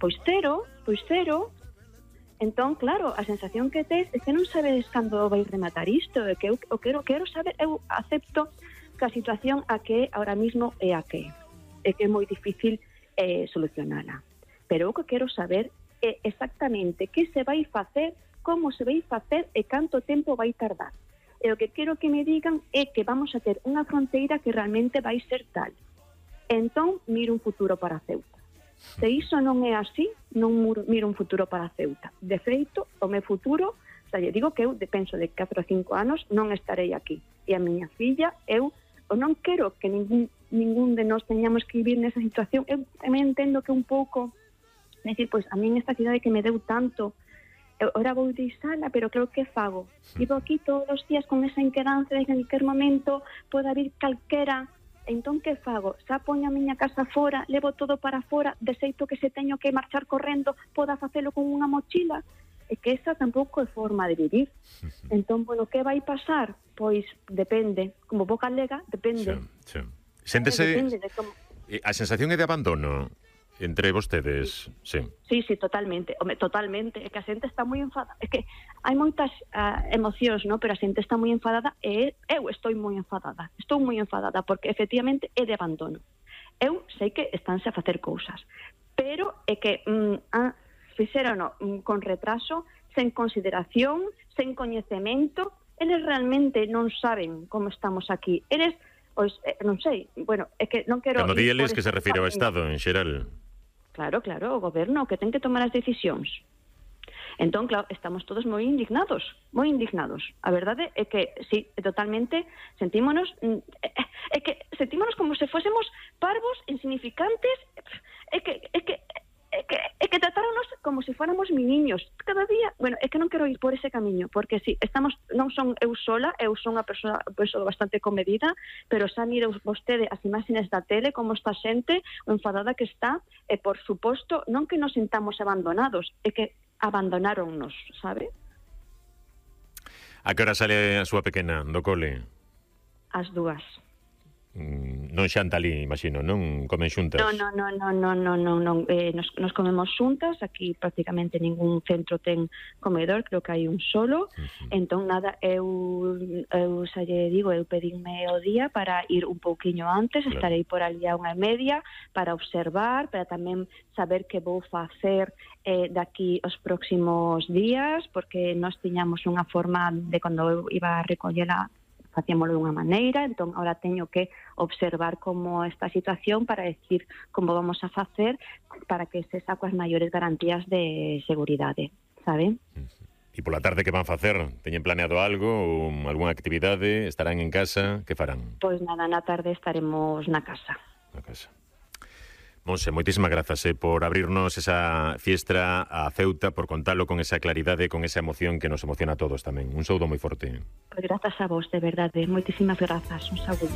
pois cero. Entón, claro, a sensación que tes é que non sabedes cando vai rematar isto, é que eu quero saber, eu acepto que a situación a que ahora mismo é a que é moi difícil solucionala. Pero o que quero saber é exactamente que se vai facer, como se vai facer e canto tempo vai tardar. E o que quero que me digan é que vamos a ter unha fronteira que realmente vai ser tal. Entón, miro un futuro para Ceuta. Se iso non é así, non miro un futuro para Ceuta. De feito, o meu futuro, lle digo que eu penso de 4 ou 5 anos non estarei aquí. E a miña filla, eu non quero que ningún de nós teñamos que vivir nesa situación. Eu tamén entendo que un pouco, decir, pois a min esta cidade que me deu tanto, ora vou deixala, pero creo que fago. Vivo aquí todos os días con esa inquedanza de que en qualquer momento poda vir calquera. Entón, que fago? Xa poño a miña casa fora, levo todo para fora, de xeito que se teño que marchar correndo, poda facelo con unha mochila? É que esa tampouco é forma de vivir. Entón, bueno, que vai pasar? Pois depende. Como boca galega, depende. Sí. Séntese... Depende de como... A sensación é de abandono entre vostedes, sí. Sí, totalmente. Home, totalmente. É que a xente está moi enfadada. É que hai moitas emocións, ¿no? Pero a xente está moi enfadada e eu estou moi enfadada. Estou moi enfadada porque efectivamente é de abandono. Eu sei que estánse a facer cousas, pero é que fixeron con retraso, sen consideración, sen coñecemento. Eles realmente non saben como estamos aquí. Eles, pois, non sei, bueno, é que non quero... Cando di eles que se refire ao Estado en xeral. Claro, o goberno que ten que tomar as decisións. Entón, claro, estamos todos moi indignados. A verdade é que, sí, totalmente, sentímonos como se fósemos parvos, insignificantes, é que tratáronos como se fóramos miniños. Cada día, bueno, é que non quero ir por ese camiño, porque si, non son eu sola, eu son unha persoa bastante comedida, pero xa mire vostede as imaxes da tele, como está xente, o enfadada que está, e por suposto, non que nos sintamos abandonados, é que abandonáronnos, sabe? A que hora sale a súa pequena do cole? As 2. Non xanta ali, imagino, non comen xuntas? Non. Nos comemos xuntas. Aquí prácticamente ningún centro ten comedor, creo que hai un solo. Entón, nada, eu xa lle digo, eu pedinme o día para ir un pouquiño antes, claro. Estarei por ali a 1:30 para observar, para tamén saber que vou facer daqui os próximos días, porque nós tiñamos unha forma de cando eu iba a recollela facíamoslo dunha maneira, entón ahora teño que observar como esta situación para decir como vamos a facer para que se saco as maiores garantías de seguridade, sabe? E pola tarde que van facer? Teñen planeado algo ou algunha actividade? Estarán en casa? Que farán? Pois nada, na tarde estaremos na casa. Na casa. Monse, moitísimas grazas por abrirnos esa fiestra a Ceuta, por contalo con esa claridade, con esa emoción que nos emociona a todos tamén. Un saúdo moi forte. Pois grazas a vos, de verdade. Moitísimas grazas. Un saúdo.